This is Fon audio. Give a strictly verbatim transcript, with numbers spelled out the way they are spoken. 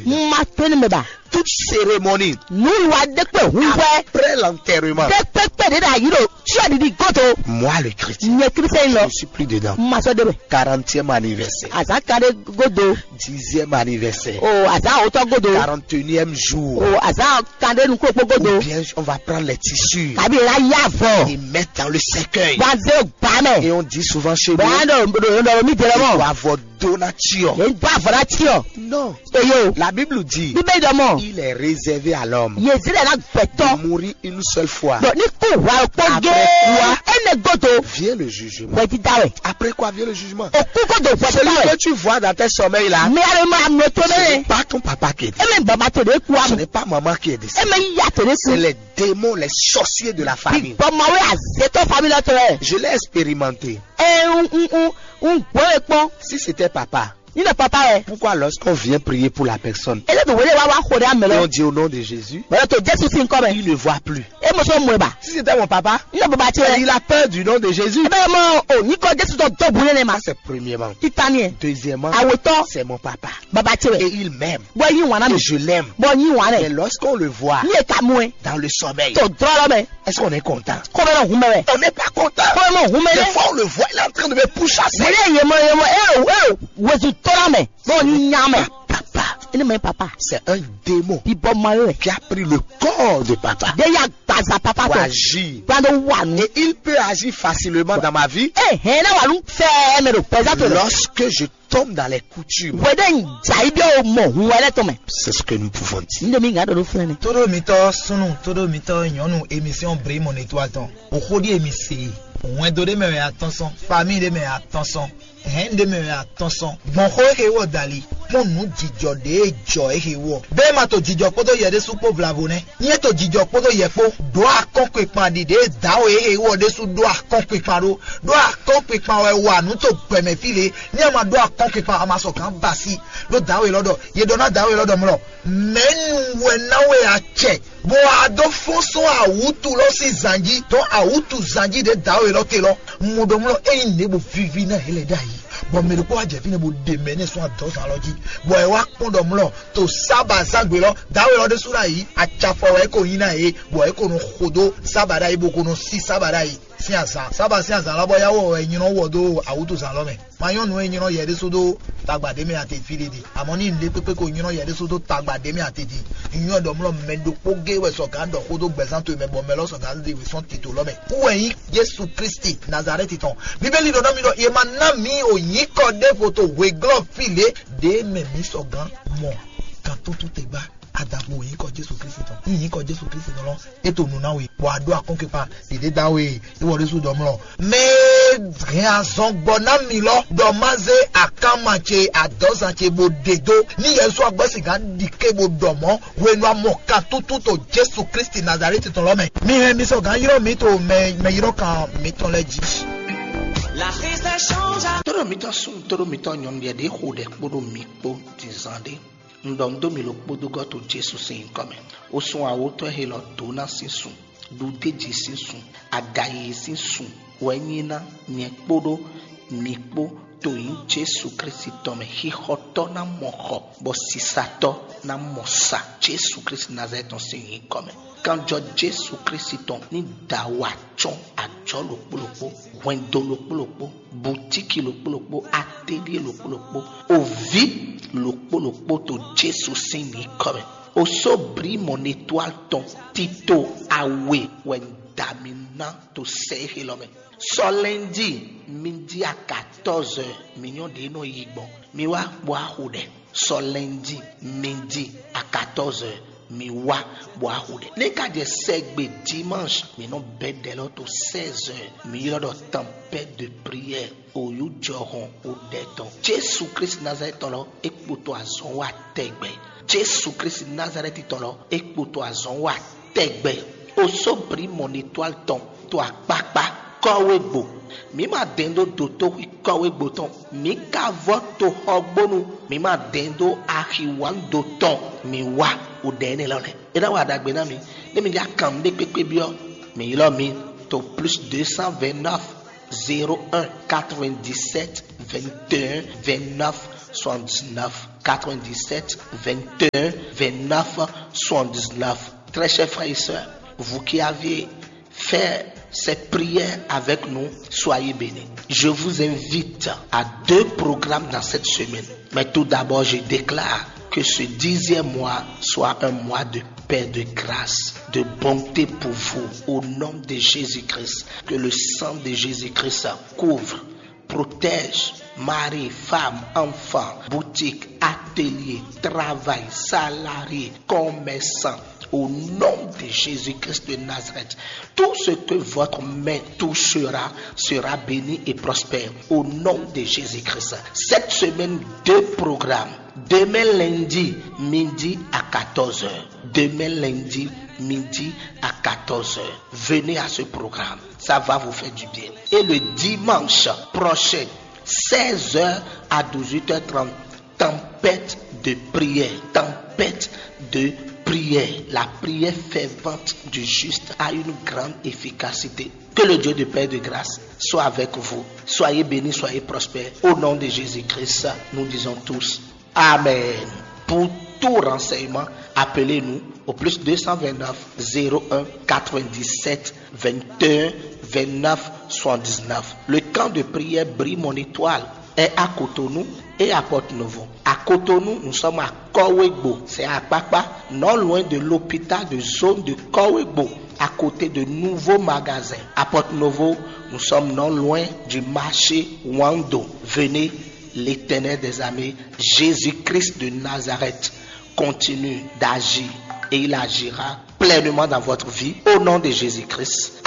Ma tó ní mɛ ba. Toute cérémonie, Nǔwiwa ɖé kpé hun hwɛ. Après l'enterrement, Ɖé kpékpé ɖé ɖo ayǐ ɖo cyɔ ɖiɖi godo. Moi le chrétien, Nyɛ Kristiɛn lɔ. Je suis plus dedans. Ma sɔ́ ɖé mɛ. Quarantième anniversaire. Azǎn kan ɖé godo. Dixième anniversaire. O azǎn awotɔ godo. Quarante-et-unième jour. O azǎn kan ɖé nukún ɖokpó godo. Ou bien on va prendre les tissus. Kabi la yá vɔ. Et mettre dans le cercueil. Wa zé o gbá mɛ. Et on dit souvent chez nous. Bɔn an ɖo ɖo ɖo mi dɛrɛ mɔ. Wa vɔ dó ná cyɔ. Yě dó avɔ ná cyɔ. Non. Eyo. La Bible dit. Bíbélì ɖɔ mɔ. Il est réservé à l'homme. Yě zí lɛ ná gbɛtɔ. De mourir une seule fois. Bɔn ní kú hwa kpɔ gé. Après quoi? Éne godo. Vient le jugement. Hwɛ dídá wɛ. Après quoi vient le jugement? Òkú godo hwɛ dídá wɛ. Celui que tu vois dans tes sommeils là. Mi a lè ma nɔ tó mɛ. Ce n'est pas ton papa qui est décédé. Eme baba tó de kú amu. Ce n'est pas maman qui est décédée. Eme ya tó de kú. C'est les démons, les sorciers de la famille. Bɔn mawe azetɔ famille la tɔ yɛ. Je l'ai expérimenté. Ɛ n n n n gbɔ yɛ kpɔn. Si c'était papa. Ni le papa yɛ. Pourquoi lorsqu'on vient prier pour la personne, ele to wele wa wa xo ɖe ame lɔ. Et on dit au nom de Jésus, bɔlɔ to Jesu si nkɔ mɛ. Il ne voit plus. E mo sɔ mɔ ba. Si c'était mon papa, ni le baba tse. Il a peur du nom de Jésus. Ebe mo o ni kɔ Jesu tɔ dɔ bu ne ma. C'est premièrement. Titaniɛ. Deuxièmement, awetɔ. C'est mon papa. Baba tse. Et il m'aime. Bɔ yi wana mi. Et je l'aime. Bɔ yi wana. Mais lorsqu'on le voit. Ni e ka mu e. Dans le sommeil. To drɔlɔ mɛ. Est-ce qu'on est content? Kɔmɛ na hun mɛ. On n'est pas content. Kɔmɛ na hun mɛ. Des fois on le voit, il est en train de me pourchasser. Wele yemɔ yemɔ e o e o wezu tɔla mɛ. Bɔ ni nya mɛ. Papa. Ene mɛ papa. C'est un démon. Bibɔ ma yɛ. Qui a pris le corps de papa. De ya gbaza papa tɔ. Pour agir. Gbado wa nu. Et il peut agir facilement dans ma vie. Eh, hɛn na wa nu fɛ mɛ do pɛza to. Lorsque je tombe dans les coutumes. Wede n dza yi bi o mɔ hun wɛrɛ tɔn mɛ. C'est ce que nous pouvons dire. N de mi ŋa ɖo ɖo filɛ ne. Todo mitɔ sunu, todo mitɔ nyɔnu, émission Bri mon étoile tɔn. O xo ɖi emi se. Wɛn do ɖe mɛ wɛ atɔn sɔn, famille ɖe mɛ atɔn sɔn, hɛn ɖe mɛ wɛ atɔn sɔn. Gbɔn xo ehe wɔ dali. Kpɔn nǔ jijɔ ɖe jɔ ehe wɔ. Bɛɛ ma to jijɔ kpódó yɛ ɖésú kpó vlavo nɛ. Nyɛ to jijɔ kpódó yɛ kpó. Ɖó akɔnkpikpan ɖiɖe dǎwe ehe wɔ ɖésú ɖó akɔnkpikpan ɖó. Ɖó akɔnkpikpan wɛ wa nǔ to gbɛmɛ fí lě. Ní a ma ɖó akɔnkpikpan, a ma sɔ gǎn basi. Ɖó dǎwe lɔ ɖɔ, yě ɖɔ ná dǎwe lɔ ɖɔ mlɔ. Mɛ̌nu wɛ ná we acɛ, bó wá dó fɔ́n sɔ́n awǔtu lɔ sín zan jí, dɔn awǔtu zan jí ɖě dǎwe lɔ te lɔ. Mo ɖɔ mlɔ ényí nǔɖé bo víví ná yě lɛ ɖ'ayǐ, bɔ mɛ ɖokpó wá jɛ fínɛ́ bo ɖe mɛ nɛ́ sɔ́n adɔ̌zán lɔ jí, bɔ è wá kpɔ́n ɖɔ mlɔ to sába zágbe lɔ, dǎwe lɔ ɖésú ná yí, acafɔ wɛ é ko nyí ná yě, bɔ é ko nɔ xo dó sába ɖ'ayǐ, bo ko nɔ sí sába ɖ'ayǐ. Sín azǎn sába sín azǎn lɔ bɔ yá wɔ wɛ nylɔ́ wɔ dó awǔtuzǎn lɔ mɛ. Ma nyɔ́ nǔ e nylɔ́ yɛ ɖésú dó tagba ɖě mɛ ate fí ɖé ɖe. Amɔ̌ ní nǔɖé kpékpé ko nylɔ́ yɛ ɖésú dó tagba ɖě mɛ ate din. Nywɛ́ ɖɔ mlɔ mɛ ɖokpó géé wɛ sɔgǎn ɖɔ xó dó gbɛzán towe mɛ bɔ mɛ lɔ sɔgǎn ɖe wě sɔ́n tito lɔ mɛ. Kú wɛ nyí Jesu Kristi Nazalɛ́ti tɔn. Bíbélì ɖɔ ná mi ɖɔ è ma ná mǐ o nyǐkɔ ɖěvo to hweglɔ́ fí lě ɖě mɛ mǐ sɔgǎn mɔ kan túntún te gbá. Adǎkpo nyǐkɔ Jesu Kristi tɔn. Nyǐkɔ Jesu Kristi tɔn lɔ, é to nǔ ná we, bɔ a ɖó akɔ́nkpinkpan ɖěɖé dá we, é wɔ ɖésú ɖɔ mlɔ. Mɛ e hɛn azɔn gbɔ ná mi lɔ, ɖɔ má zé akánma ce adɔ̌zan ce bo ɖe dó, ní Yɛsu agbɔ́ sixá ɖi ké bo ɖɔ mɔ̌, hwenu amɔ kan tútú to Jesu Kristi Nazalɛ́ti tɔn lɔ mɛ. Mi hɛn mi sɔgǎn ylɔ́ mǐ to mɛ mɛ ylɔ́ kan mǐtɔn lɛ́ɛ jí. Tóɖó mitɔn súnnu, tóɖó mitɔn nyɔ̌nu, yɛ ɖě xo ɖɛ kpódó mi kpó din zan ɖé. Un ɖɔ nǔ dó mi ɖokpó dó gɔ́ to Jesu sín nyǐkɔ mɛ. Wosún awotɔ́ e lɔ dǒ ná sín sun, ɖuɖéji sín sun, agayiyi sín sun wɛ nyí ná nyɛ kpódó mi kpó to nyǐ Jesu Kristi tɔn mɛ. Xixɔtɔ́ ná mɔ xɔ, bɔ sisatɔ́ ná mɔ sa Jesu Kristi Nazalɛ́ti tɔn sín nyǐkɔ mɛ. Kanjɔ Jesu Kristi tɔn ní da wa cɔ́n ajɔ̌ ɖokpó ɖokpó, hwɛndo ɖokpó ɖokpó, butíki ɖokpó ɖokpó, atelier ɖokpó ɖokpó, oví ɖokpó ɖokpó to Jesu sín nyǐkɔ mɛ. Osobrí mɔnetwál tɔn tito awe wɛ un da mi ná to sɛ éxe lɔ mɛ. Sɔ lundi midi à quatorze heures mi nyɔ́ ɖě nɔ yi gbɔn. Mi wá bɔ axo ɖɛ. Sɔ lundi midi à quatorze heures mi wá bɔ axo ɖɛ. Ní ka jɛ sɛgbe dimanche mi nɔ bɛ ɖɛ lɔ to seize heures. Mi ylɔ́ ɖɔ tempête de prière. Oyu jɔhɔn o ɖɛ tɔn. Jesu Kristi Nazalɛ́ti tɔn lɔ é kpoto azɔn wa tɛgbɛ. Jesu Kristi Nazalɛ́ti tɔn lɔ é kpoto azɔn wa tɛgbɛ. Osobrí mɔnitwál tɔn to akpakpa kɔ́wé gbo. Mǐ ma dɛn dó dotóxwí kɔ́wé gbo tɔn. Mǐ ka vɔ́ toxɔgbónu. Mǐ ma dɛn dó axi wǎn do tɔn. Mǐ wá o ɖɛ énɛ́ lɔ lɛ́ɛ. É ná wa ɖagbe ná mi. Nú mi já kan nǔɖé kpékpé byɔ́, mǐ ylɔ́ mi to plus deux cent vingt-neuf, zéro un, quatre-vingt-dix-sept, vingt et un, vingt-neuf, soixante-dix-neuf quatre-vingt-dix-sept vingt et un vingt-neuf soixante-dix-neuf. Très chers frères et sœurs, vous qui avez fait cette prière avec nous, soyez bénis. Je vous invite à deux programmes dans cette semaine. Mais tout d'abord, je déclare que ce dixième mois soit un mois de paix, de grâce, de bonté pour vous, au nom de Jésus-Christ. Que le sang de Jésus-Christ couvre, protège mari, femme, enfant, boutique, atelier, travail, salarié, commerçant. Au nom de Jésus-Christ de Nazareth, tout ce que votre main touchera sera béni et prospère. Au nom de Jésus-Christ. Cette semaine, deux programmes. Demain lundi, midi à quatorze heures. Demain lundi, midi à quatorze heures. Venez à ce programme. Ça va vous faire du bien. Et le dimanche prochain, seize heures à dix-huit heures trente, tempête de prière. Tempête de prière. La prière fervente du juste a une grande efficacité. Que le Dieu de paix et de grâce soit avec vous. Soyez bénis, soyez prospères. Au nom de Jésus-Christ, nous disons tous Amen. Pour tout renseignement, appelez-nous au plus deux cent vingt-neuf zéro un quatre-vingt-dix-sept vingt et un vingt-neuf soixante-dix-neuf. Le camp de prière Brille mon étoile est à Cotonou et à Porto Novo. À Cotonou, nous sommes à Kowegbo, c'est à Kpakpa, non loin de l'hôpital de zone de Kowegbo, à côté de nouveaux magasins. À Porto Novo, nous sommes non loin du marché Wando. Venez, l'Éternel des armées, Jésus-Christ de Nazareth, continue d'agir et il agira pleinement dans votre vie au nom de Jésus-Christ.